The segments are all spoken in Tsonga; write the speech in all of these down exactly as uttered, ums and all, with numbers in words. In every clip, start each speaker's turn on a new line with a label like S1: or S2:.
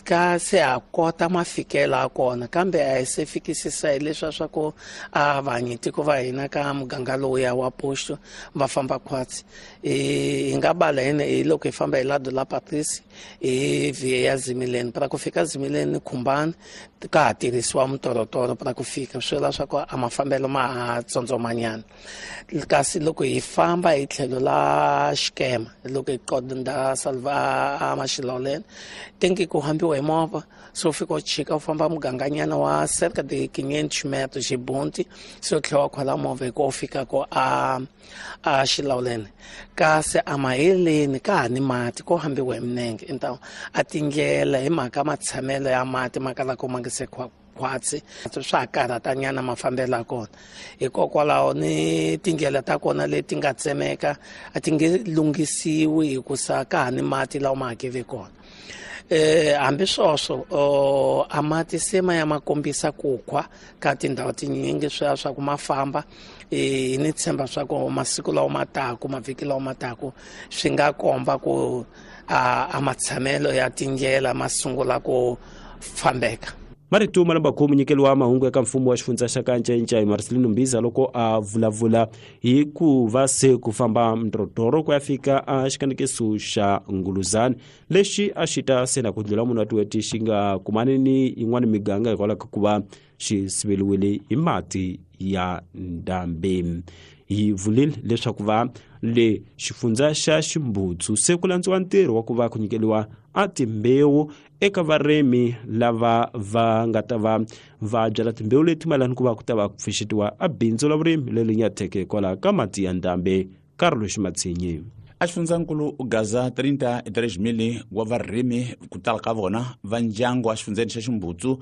S1: Ka se ha kota mafikelo ya kona, kambe a hi se fikisisa hileswiya swa ku a vanyitiko va hina ka muganga lowuya wa posto va famba khwatsi. Hi nga bala hina hi loko hi famba hi lado la Patrice hi via ya Zimileni, para ku fika Zimileni Khumbani ka ha tirhisiwa mitorotoro para ku fika, swi vula swa ku a mafambelo ma ha tsondzomanyana. Kasi loko hi famba hi tlhelo la Xikema, loko hi qonda Salva a Maxiloleni, tenki ku hambiwa hi movha, so u fika u chika u famba muganganyana wa cerca de quinhentos metros hi bunti, se u tlhela u khwela movha hi ku u fika ko a a Xilawuleni. Kasi a maheleni ka ha ni mati, ko hambiwa hi minenge. Então a tindlela hi mhaka matshamelo ya mati ma kalaka ma nga se khwatsi, swa ha karhatanyana mafambelo ya kona. Hikokwalaho ni tindlela ta kona leti nga tsemeka a ti nge lunghisiwi hikusa ka ha ni mati lawa ma hakeve kona. Eh hambi sweswo a mati se ma ya ma kombisa ku khwa ka tindhawu tinyingi, swi swa ku ma famba. Eh ni tshemba swa ku masiku lawa ma taku, mavhiki lawa ma taku, swi nga komba ku a, a matshamelo ya tindlela ma sungula ku fambeka.
S2: Marito ma lamba munyikeli wa mahungu eka mfumo wa xifundza xa Kanchentsha hi Marcelino Mbiza loko a vulavula hi ku va se ku famba mdrodoro ku ya fika a xikanekiso xa Nguluzani lexi a xi ta se na ku ndlula munhu wa tiweti xi nga kumani ni yin'wana miganga hikwalaho ka ku va xi siveliwile hi mati ya ndhambi. Hi vulile leswaku va le xifundza xa Ximbutsu se ku landziwa ntirho wa ku va ku nyikeliwa a timbewu eka varimi lava va nga ta va va byala timbewu leti mayelana ku va ku ta va ku pfuxetiwa a bindzu la vurimi leri nyatheke hikwalaho ka mati ya ndhambi. Carlos Matsinyi.
S3: A xifundzankulu Gaza trinta e três mil wa varimi ku tala ka vona va ndyangu a xifundzeni xa Ximbutsu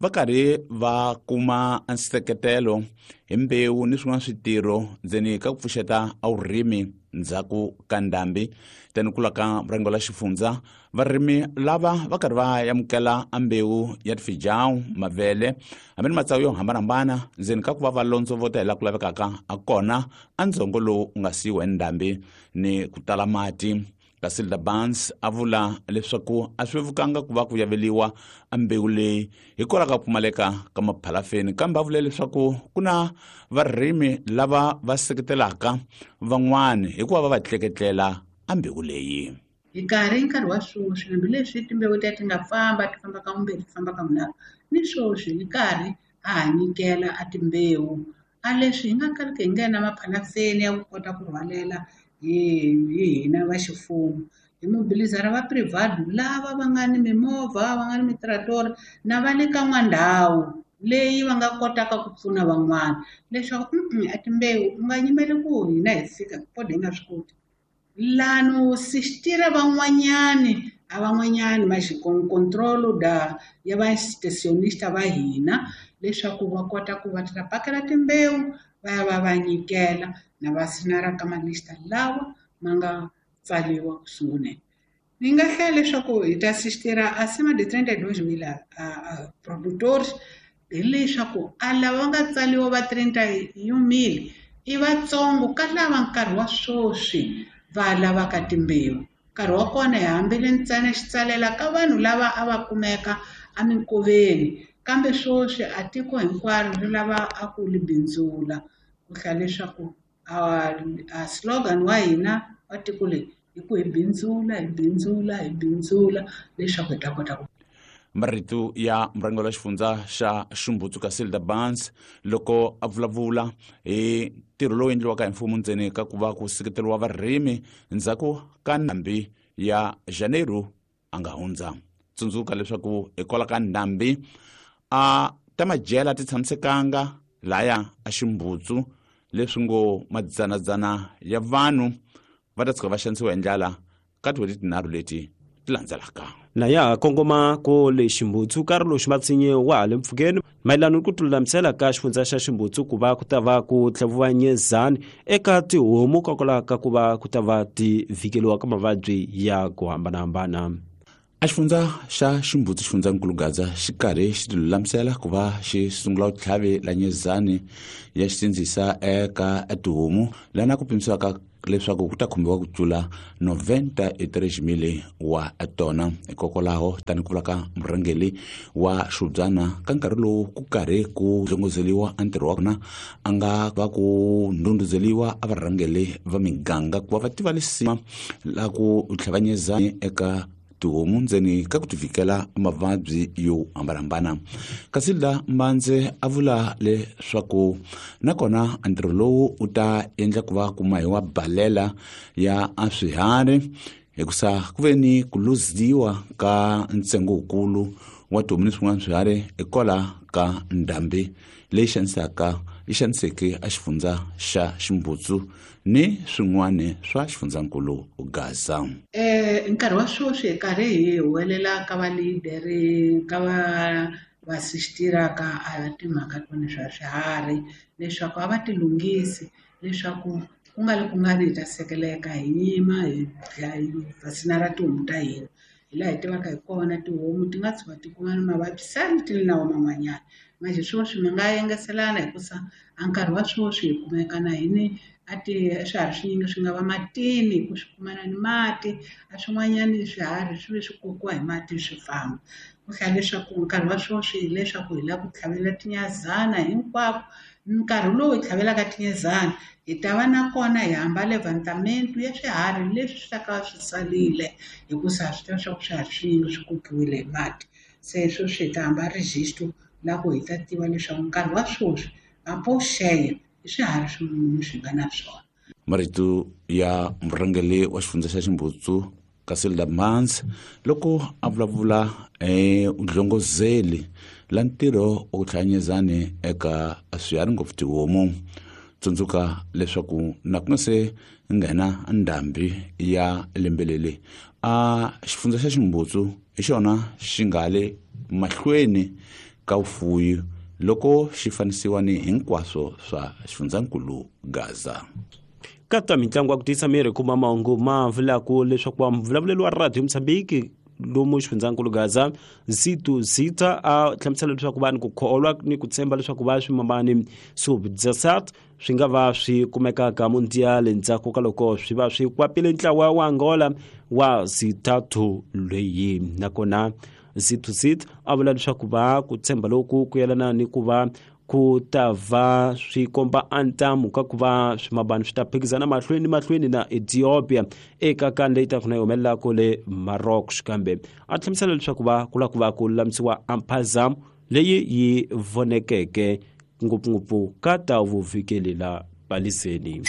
S3: va karhi va kuma nseketelo hi mbewu ni swin'wana switirho ndzeni ka ku pfuxeta a vurimi ndzhaku ka ndhambi. Tani kula ka murhango la xifundza, varimi lava va karhi va amukela a mbewu ya tifijawu, mavele hambi ni matsavu yo hambanahambana ndzeni ka ku va va londzovota hi laha ku lavekaka a kona a ndzhongo lowu nga siyiwa hi ndhambi ni ku tala mati. Casilda Barnes a vula leswaku a swi vevukanga ku va ku yaveliwa a mbewu leyi hikwalaho ka ku pfumaleka ka maphalafeni, kambe a vule leswaku ku na varimi lava va seketelaka van'wani hikuva va va tleketlela a mbewu leyi.
S4: Hi nkarhi nkarhi wa sweswi, hambileswi timbewu letiya ti nga famba ti famba ka vumbirhi ti famba ka vunharhu, ni sweswi hi karhi a ha nyikela a timbewu. A leswi hi nga kaliki hi nga na maphalafeni ya ku kota ku rhwalela hi hina va ximfumo, hi mobilizara va private lava va nga ni mimovha, va nga ni mitiratori na va le ka n'wandhawu leyi va nga kotaka ku pfuna van'wana leswaku a timbewu u nga yimeli ku hina hi fika kode hi nga swi koti. Lano sistira van'wanyani a van'wanyani ma control da ya va stationista va hina leswaku va kota ku va ta pakela timbewu va ya va va nyikela na va sinara ka malista lawa ma nga tsariwa ku sunguleni. Ni nga hlaya leswaku hi ta sistira acima de trinta e dois mil a, a produtores, hileswaku a lava va nga tsariwa va trinta e um mil i vatsongo ka lava nkarhi wa sweswi va lavaka timbewu. Nkarhi wa kona hi hambile ntsena xitsalela ka vanhu lava a va kumeka eminkoveni, kambe sweswi a tiko hinkwaro ri lava a ku li bindzula. Ku hlaya leswaku a, a slogan wa hina wa tiko leri i ku hi bindzula, hi bindzula, hi bindzula leswaku hi ta kota ku.
S3: Marito ya murhangeri wa xifundza xa Ximbutsu Casilda Barnes loko a vulavula hi ntirho lowu endliwaka hi mfumo ndzeni ka ku va ku seketeriwa varimi ndzhaku ka ndhambi ya Janeiro a nga hundza. Tsundzuka leswaku hikwalaho ka ndhambi a ta madyela ti tshamisekanga laya a Ximbutsu, leswi ngo madzanadzana ya vanhu va ta tshuka va xanisiwa hi ndlala ka tin'hweti tinharhu leti ti landzelaka.
S2: Na ya kongoma ko le Ximbutsu, Carlos Matsinye wa ha le mpfhukeni mayelana ni ku tilulamisela ka xifundza xa Ximbutsu ku va ku ta va ku tlhaviwa nyezani eka tihomu kokwalaho ka ku va ku ta va ti vhikeliwa ka mavabyi ya ku hambanahambana.
S3: A xifundza xa Ximbudzi xifundzankulu Gaza xi karhi xi tilulamisela ku va xi sungula vutlhavi la nyezani ya xisindzisa eka tihomu lana ku pimisiwaka leswaku ku ta khumbiwa ku tlula noventa e três mil wa tona. Hikokwalaho tani ku vula ka murhangeri wa Xubyana ka nkarhi lowu ku karhi ku dlongozeliwa a ntirho wa kona a nga va ku ndhundhuzeliwa a varhangeri va miganga ku va va tiva lisima la ku tlhavanyezani eka tihomu ndzeni ka ku tivikela mavabyi yo hambanahambana. Kasi la Mbandze a vula leswaku nakona ntirho lowu u ta endla ku va ku mahiwa balela ya swiharhi hikusa ku ve ni ku luziwa ka ntsengo wukulu wa tihomu ni swin'wana swiharhi hikwalaho ka ndhambi leyi xanisaka yi xaniseke a xifundza xa Ximbutsu ni swin'wana swa xifundzankulu Gaza.
S4: Eh nkarhi wa sweswi hi karhi hi huwelela ka valideri ka va va sistiraka a timhaka tona swa swiharhi leswaku a va ti lunghisi leswaku ku nga ri ku nga ri hi ta sekeleka hi nyima hi vaccina ra tihomu ta hina. Hi laha hi tivaka hi kona tihomu ti nga tshuka ti kuma mavabyi sani ti ri na wona man'wanyana. Manje sweswi mi nga engeselana hikusa a nkarhi wa sweswi hi kumeka na hini a ti swiharhi swinyingi swi nga va matini ku swi kumana ni mati a swin'wanyani swiharhi swi ve swi kokiwa hi mati swi famba. Ku hlaya leswaku nkarhi wa sweswi hileswaku hi lava ku tlhavela tinyazana hinkwako. Nkarhi lowu hi tlhavelaka tinyezana hi ta va na kona hi hamba levantamento ya swiharhi leswi swi ta ka swi salile hikusa swi tiva swa ku swiharhi swinyingi swi kokiwile hi mati. Se sweswi hi ta hamba registro la ku hi ta tiva leswaku nkarhi wa sweswi apoxeya i swiharhi swin'wana swi nga na swona.
S3: Marito ya murhangeri wa xifundza xa Ximbutsu Casilda Mans loko a vulavula eh dlongozeli la ntirho wa ku tlhanyezani eka swiharhi ngopfu tihomu. Tsundzuka leswaku na ku nga se nghena ndhambi ya lembe leri a xifundza xa Ximbutsu hi xona xi nga le mahlweni ka vufuwi loko xi fanisiwa ni hinkwaswo swa xifundzankulu Gaza.
S2: Ka mitlangu ya ku tiyisa miri kuma mahungu ma vulaka leswaku vulavulelo wa Radio Mozambique lomu xifundzankulu Gaza Zitu Zita a hlamusela leswaku vanhu ku kholwa ni ku tshemba leswaku va swimamani sub-desert swi nga va swi kumekaka mundial endzhaku ka loko swi va swi kwapile ntlawa wa Angola wa Zitatu leyi. Nakona Zitu Zita a vula leswaku va ku tshemba loku ku yelana ni ku va ku ta va swi komba antamu ka ku va swimabani swi ta phikizana mahlweni mahlweni na Ethiopia eka kan leyi taka na yi humelelaka le Maroc. Kambe a hlamusela leswaku va ku lava ku va ku lulamisiwa amphazamo leyi yi vonekeke ngopfungopfu ka ta vuvikeli la paliseni.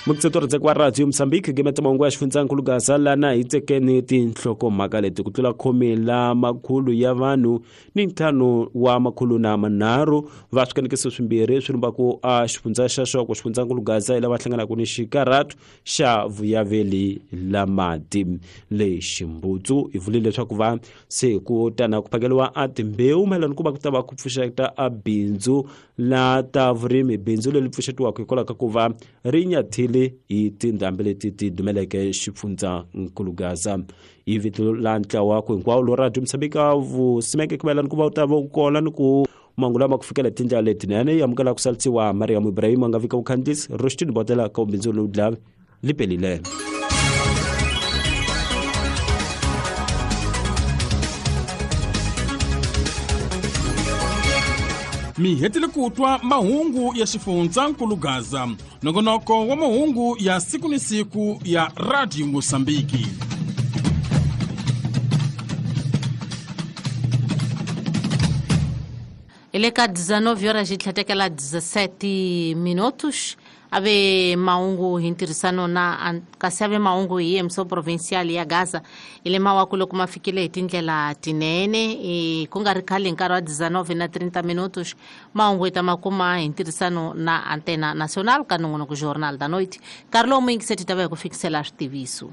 S2: Mukutsetori wa Radio Mozambique gemeta mahungu ya xifundzankulu Gaza lana hi tekeni tinhlokomhaka leti ku tlula khume la makhulu ya vanhu ni ntlhanu wa makhulu na manharhu va swikanekiso swimbirhi swi lumbaku a xifundza xa Xoko xifundzankulu Gaza hi lava hlanganaka ni xikarhatu xa vuyaveli la mati le Ximbutsu. Hi vulile leswaku va se ku tana ku phakeliwa a timbewu mayelana ku va ku ta va ku pfuxeta a bindzu la ta vurimi bindzu leri pfuxetiwaka hikwalaho ka ku va ri nyathile hi tindhambi leti ti dumeleke xifundzankulu Gaza. Hi vito la ntlawa ku hinkwawo lo Radio Mozambique vusimeke ku mayelana ku va u ta va u kona ni ku mahungu lama ku fikela tindlela letinene yi amukela ku salisiwa Mariam Ibrahim a nga vika vukhandzisi Roshtini Botela ka bindzu lowu dlave li pelile.
S5: Mi hetile ku twa mahungu ya xifundzankulu Gaza, nongonoko wa mahungu ya siku ni siku ya Radio Mozambique.
S6: Ele ka dezenove horas e tlhatekela dezessete minutos ave mahungu hi ntirhisano na kasi ave mahungu hi E M C provincial ya Gaza ile mawaku loko ma fikile hi tindlela tinene e ku nga ri khale nkarhi wa dezenove na trinta minutos mahungu hi ta ma kuma hi ntirhisano na Antena Nacional ka nongonoko Jornal da Noite. Nkarhi lowu muyingiseti ta va hi ku fikisela switiviso.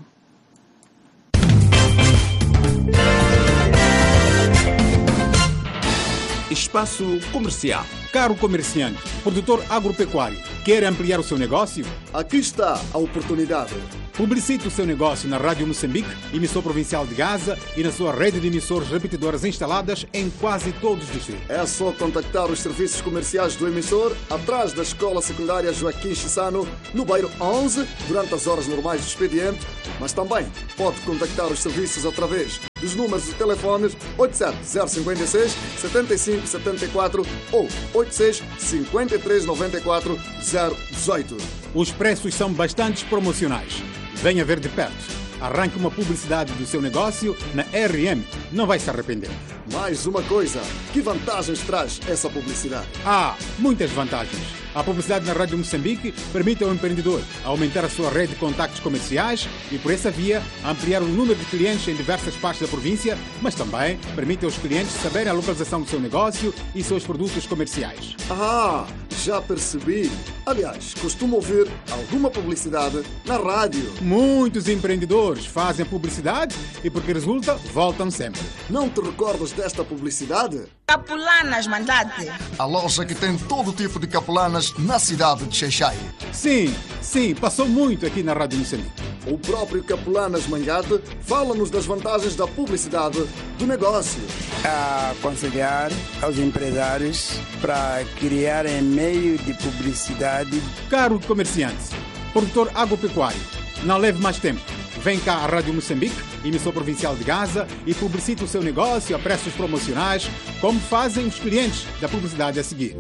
S3: Espaço Comercial.
S7: Caro comerciante, produtor agropecuário, quer ampliar o seu negócio?
S8: Aqui está a oportunidade.
S7: Publicite o seu negócio na Rádio Moçambique, emissor provincial de Gaza, e na sua rede de emissores repetidoras instaladas em quase todos os distritos.
S8: É só contactar os serviços comerciais do emissor atrás da Escola Secundária Joaquim Chissano, no bairro onze, durante as horas normais do expediente, mas também pode contactar os serviços através dos números de telefones oito sete zero cinco seis, sete cinco sete quatro ou oito seis cinco três nove quatro zero um oito.
S7: Os preços são bastante promocionais. Venha ver de perto. Arranque uma publicidade do seu negócio na R M. Não vai se arrepender.
S8: Mais uma coisa, que vantagens traz essa publicidade?
S7: Ah, muitas vantagens. A publicidade na Rádio Moçambique permite ao empreendedor aumentar a sua rede de contactos comerciais e, por essa via, ampliar o número de clientes em diversas partes da província, mas também permite aos clientes saberem a localização do seu negócio e seus produtos comerciais.
S8: Ah, já percebi. Aliás, costumo ouvir alguma publicidade na rádio.
S7: Muitos empreendedores fazem publicidade e, porque resulta, voltam sempre.
S8: Não te recordas desta publicidade?
S9: Capulanas Mandate.
S8: A loja que tem todo tipo de capulanas na cidade de Xaixai.
S7: Sim, sim, passou muito aqui na Rádio Moçambique.
S8: O próprio Capulanas Mangate fala-nos das vantagens da publicidade do negócio.
S10: A aconselhar aos empresários para criarem meio de publicidade.
S7: Caro comerciante, produtor agropecuário, não leve mais tempo. Vem cá à Rádio Moçambique, emissor provincial de Gaza, e publicite o seu negócio a preços promocionais, como fazem os clientes da publicidade a seguir.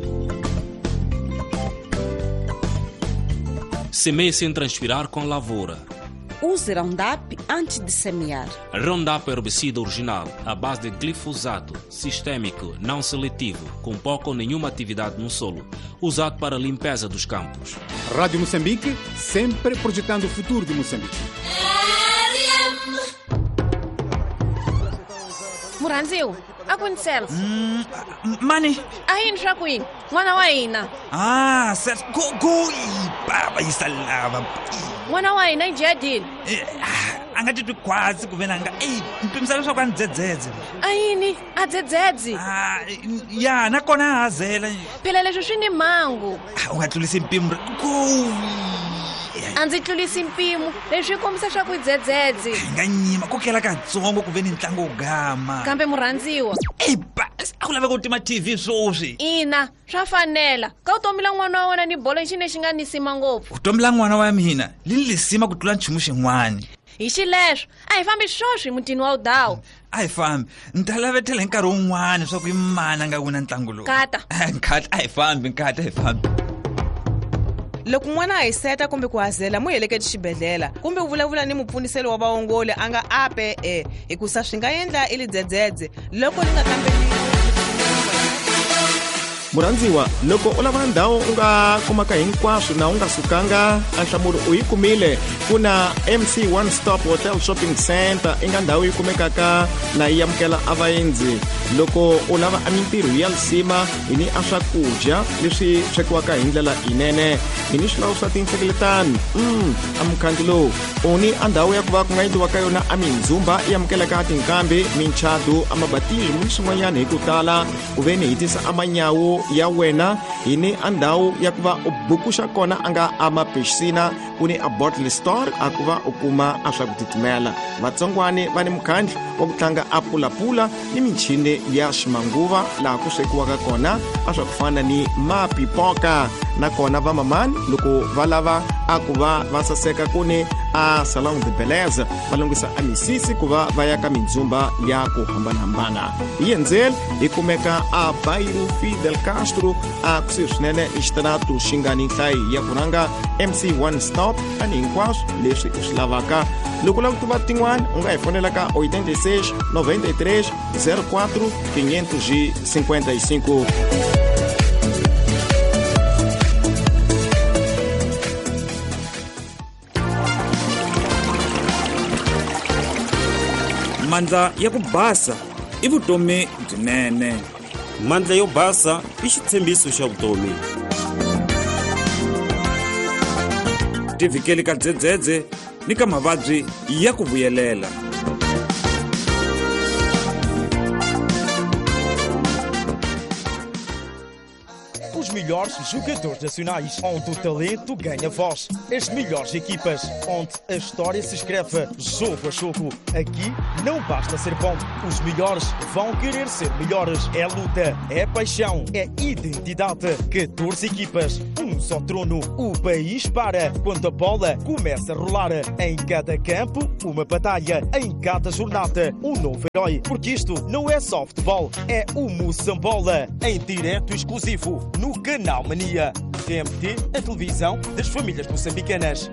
S11: Semeie sem transpirar com lavoura.
S12: Use Roundup antes de semear.
S11: Roundup é herbicida original, à base de glifosato, sistêmico, não seletivo, com pouca ou nenhuma atividade no solo, usado para a limpeza dos campos.
S7: Rádio Moçambique, sempre projetando o futuro de Moçambique.
S13: Muranziu, aconteceu.
S14: Hum, mani.
S13: Aí não queen. Mwana wa hina.
S14: Ah, certo. Go go baba isalava.
S13: Mwana wa hina ijadini.
S14: A nga titwi khwatsi ku ve na nga ei mpimiselo swa ku a ni dzedzedze.
S13: Ayini a dzedzedzi.
S14: Ah, ya nakona a hazela.
S13: Phela leswi swi ni mhangu.
S14: U nga tlulisi mpimo go.
S13: A ndzi tlulisi mpimo leswi kombisa swa ku dzedzedzi.
S14: Hi nga nyima ku kela katsongo ku ve ni ntlangu wo gama.
S13: Kambe murhandziwa.
S14: Ei ba a ku laveka ku tima T V sweswi.
S13: Ina swa fanela ka vutomi la n'wana wa wena ni bolo xi lexi nga nisima ngopfu.
S14: Vutomi la n'wana wa mina li ni lisima ku tlula nchumu xin'wana.
S13: Hi xileswo a hi fambi swoswi mutini wa udawu.
S14: A hi fambi ni ta lavetela hi nkarhi wun'wana swa ku i mani a nga wina ntlangu lowu.
S13: Nkata
S14: nkata a hi fambi nkata a hi fambi.
S15: Loko n'wana a hiseta kumbe ku hazela mu heleketi xibedhlele kumbe u vulavula ni mupfuniselo wa vaongoli a nga ape e hikusa swi nga endla i lidzedzedze loko li nga kamberiwi.
S16: Murhandziwa, loko u lava ndhawu u nga kumaka hinkwaswo na u nga sukanga, a nhlamulo u yi kumile. Ku na M C One Stop Hotel Shopping Center i nga ndhawu yi kumekaka na yi amukela a vaendzi. Loko u lava a mintirho ya lisima hi ni a swakudya leswi swekiwaka hi ndlela yinene, hi ni swilawu swa tinhlengeletano. Mm, a mukhangi lowu u ni a ndhawu ya ku va ku nga endliwa ka yona a mindzumba yi amukelaka tinkambi, minchadu, a mabatismo ni swin'wanyana hi ku tala. Ku ve ni hi tisa a manyawu ya wena hi ni a ndhawu ya ku va u bukuxa kona a nga a mapixina, ku ni a bottle store a ku va u kuma a swa ku titimela. Vatsongwani va ni mukhandlu wa ku tlanga a pulapula ni michini ya ximanguva laha ku swekiwaka kona a swa ku fana ni mapipoka. Nakona va mamani loko va lava a ku va va saseka ku ni a salon de beleza va lunghisa a misisi ku va va ya ka mindzumba ya ku hambanahambana. Hi endzeli hi kumeka a Bairro Fidel Castro a kusuhi swinene ni xitaratu xi nga ni nhlayo ya ku rhanga M C One Stop ani hinkwaswo leswi u swi lavaka. Loko u lava ku tiva tin'wana u nga hi fonela ka oitenta e seis, noventa e três, zero quatro, quinhentos e cinquenta e cinco.
S17: Mandla ya ku basa i vutomi byinene.
S2: Mandla yo basa i xitshembiso xa vutomi.
S17: Tivikeli ka dzedzedze ni ka mavabyi ya ku vuyelela.
S18: Os melhores
S17: melhores jogadores nacionais, onde o talento ganha voz, as melhores equipas, onde a história se escreve jogo a jogo. Aqui não basta ser bom, os melhores vão querer ser melhores. É luta, é paixão, é identidade. catorze equipas, um só trono. O país para quando a bola começa a rolar. Em cada campo, uma batalha. Em cada jornada, um novo herói. Porque isto não é só futebol, é o Moçambola. Em direto exclusivo no Canal Mania. T M T, a televisão das famílias moçambicanas.